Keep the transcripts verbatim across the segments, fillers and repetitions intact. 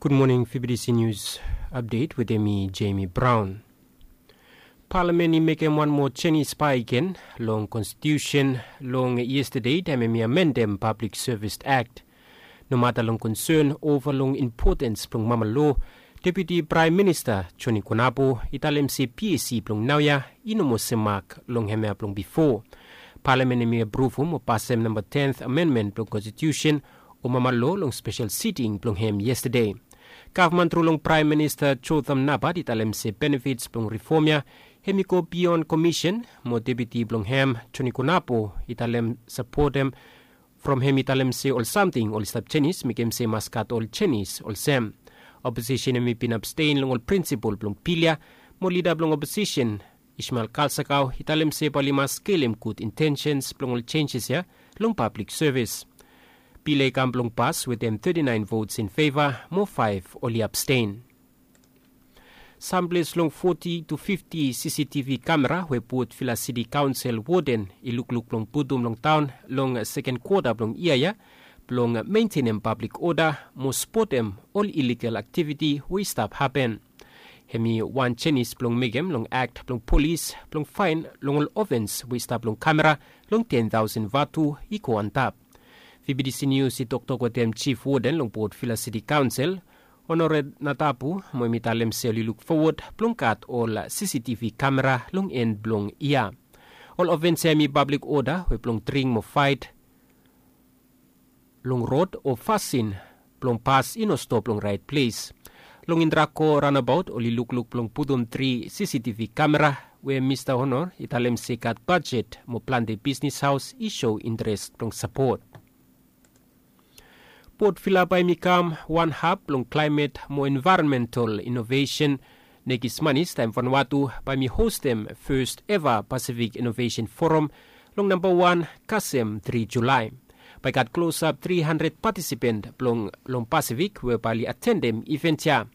Gud moning, Fibidisi Nius Apdet wetem mi, Jemi Braon. Palamen i mekem wan moa jenis bakegen long konstitiusen long yestade taem hem i amendem Pablik Sevis Akt. Nomata long konsen ova long impotens blong mama loa, Deputi Praem Minista Joni Konapo i talem se PSC blong naoia i no moa semak long hemia blong bifo. Palamen hem i apruvum o pasem namba tenth amenmen blong konstitiusen o mama loa long spesel siting blong hem yestade. Gavman tru long Praem Minista Jotham Napat i talem se benefits blong rifom ya hem i go bion komisen, mo Deputi blong hem Joni Konapo i talem sapotem from hem i talem se ol samting oli stap jenis mekem se i mas gat ol jenis olsem. Oposisen hem i bin abstein long ol prinsipol blong bil ya, mo lida blong oposisen Ishmael Kalsakau i talem se bae oli mas skelem gud intensens blong ol jenjes ya long pablik sevis. Bil ya i kam blong pas wetem thirty-nine votes in favor mo five oli abstein. Samples long forty to fifty CCTV kamera we Port Vila City Council woden i lukluk blong putum long taon long seken kwota blong yia ya blong mentenem pablik oda mo spotem ol iligal aktiviti we i stap hapen. Hem i wan jenis blong mekem long akt blong polis blong faen long ol ofens we i stap long kamera long ten tausen vatu i go antap. Fibidisi Nius i toktok wetem jif woden long Port Vila City Council, Honore Natapu, mo hem i talem se oli luk fowod blong gat ol CCTV kamera long en blong yia. Ol ofens ya hem i pablik oda we blong dring mo faet long rod o fasin blong pas i no stop long raet ples. Long Indrako raonabaot oli lukluk blong putum tri CCTV kamera we Mista Honor i talem se i gat bajet mo plante bisnis haos i so interes blong sapot. Port Vila bae hem i kam wan hab blong klaemet mo envaeronmental inovesen. Nekis manis taem Vanuatu bae hem i hostem fes eva Pasifik Inovesen Foram long namba wan kasem tri Julae. Bae i gat klosap tri handred patisipen blong long Pasifik we bae oli atendem iven ya.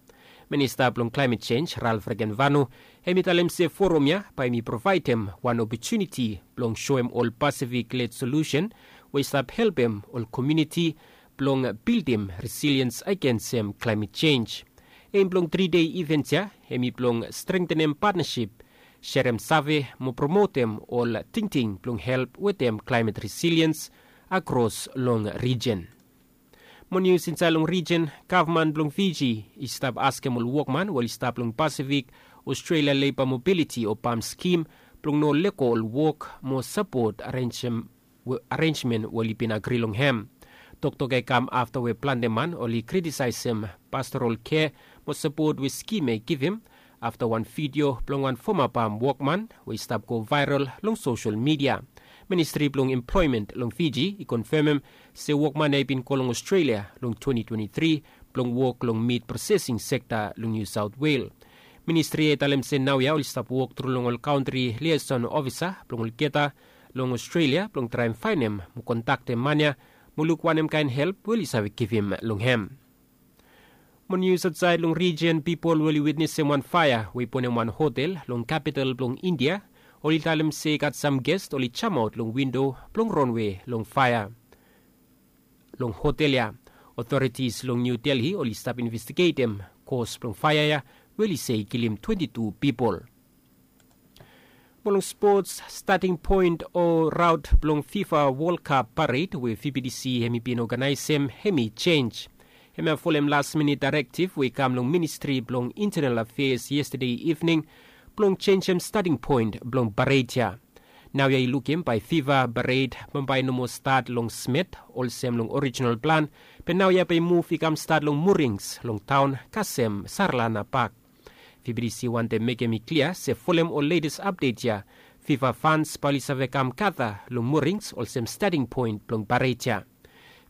Minista blong klaemet jenj Ralph Regenvanu hem i talem se foram ya bae hem i provaedem wan opotuniti blong soem ol Pasifik led solusen we i stap helpem ol komuniti blong bildim resiliens agensem klaemet jenj. Em blong tri dei iven ya hem i blong strengtenem patnasip, serem save mo promotem ol tingting blong help wetem klaemet resiliens akros long rijen. Mo nius insaed long rijen, gavman blong Fiji i stap askem ol wokman we oli stap long Pasifik, Australia Labour Mobility o pam skim blong no lego ol wok mo sapot arenjmen we oli bin agri long hem. Toktok ya i kam afta we plante man oli kritisaesem pastoral kea mo sapot we skim ya i givim afta wan vidio blong wan foma pam wokman we i stap go vaeral long sosel midia. Ministri blong Emploemen long Fiji i konfemem se wokman ya i bin go long Australia long twenty twenty-three blong wok long mit prosesing sekta long New South Wales. Ministri ya i talem se naoia oli stap wok tru long ol kantri liaeson ofisa blong olgeta long Australia blong traem faenem mo kontaktem man ya mo luk wanem kaen help we oli save givim long hem. Mo nius aotsaed long rijen, pipol we oli witnesem wan faea we i bonem wan hotel long kapital blong India oli talem se i gat sam gest oli jamaot long windo blong ronwe long faea long hotel ya. Otoritis long Niu Delhi oli stap investigetem kos blong faea ya we oli se i kilim twenti tu pipol. Mo long spots, stating poen o raot blong Fifa Wol Kap pared we Fibidisi hem i bin oganaesem hem i jenj. Hem ya folem las minit daerektiv we i kam long Ministri blong Intenal Afeas yestade ivning blong jenjem stating poen blong pared ya. Naoia i lukim bae Fifa pared bambae i no moa stat long Smet olsem long orijinal plan, be naoia bae i muv i kam stat long Murings long taon kasem Sarlana Pak. Fibidisi wantem mekem i klia se folem ol letes apdet ya, Fifa fans bae oli save kam gata long Murings olsem stating poen blong pared ya.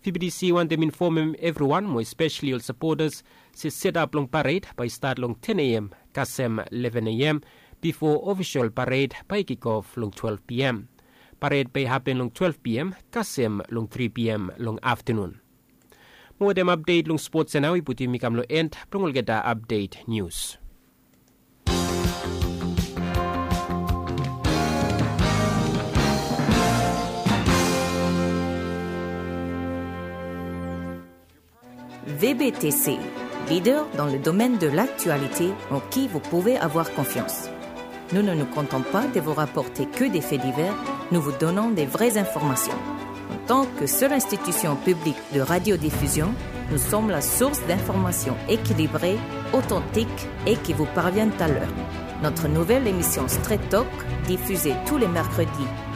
Fibidisi wantem infomem evriwan mo espeseli ol sapotas se setap blong pared bae i stat long ten A M kasem leven A M bifo ofisol pared bae i kikof long twelve P M. Pared bae i hapen long twelve P M kasem long tri P M long aftanun. Mo wetem apdet long spots ya nao i putum mi kam long en blong olgeta apdet nius. Vebetese. leader dans le domaine de l'actualité en qui vous pouvez avoir confiance. Nous ne nous contentons pas de vous rapporter que des faits divers, nous vous donnons des vraies informations. En tant que seule institution publique de radiodiffusion, nous sommes la source d'informations équilibrées, authentiques et qui vous parviennent à l'heure. Notre nouvelle émission Straight Talk, diffusée tous les mercredis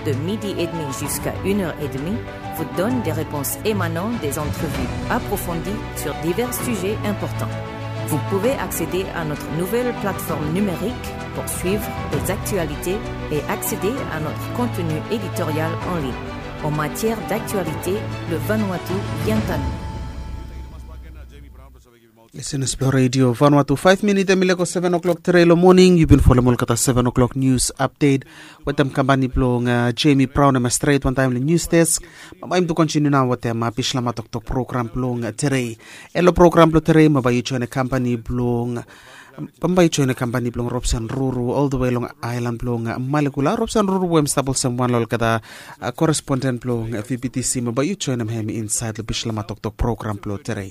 de midi et demi jusqu'à une heure et demie, vous donne des réponses émanant des entrevues approfondies sur divers sujets importants. Vous pouvez accéder à notre nouvelle plateforme numérique pour suivre les actualités et accéder à notre contenu éditorial en ligne. En matière d'actualité, le Vanuatu vient à nous. Listeners blong redio Vanuatu, five minit em i lego seven o'clock tere long moning. Yu bin folem olgeta seven o'clock news update wetem kampani blong uh, Jamie Brown em stret wantaim long news desk. Bambae yumi tu kontiniu nao wetem uh, Bislama Toktok program blong uh, tere. Elo program blong tere, bambae yu join kampani blong bambae yu join kampani blong Robson Ruru all the way long ailan blong uh, Malekula. Robson Ruru we em stap olsem wan long olgeta uh, koresponden blong uh, V B T C, bambae yu join hem inside long Bislama Toktok program blong tere.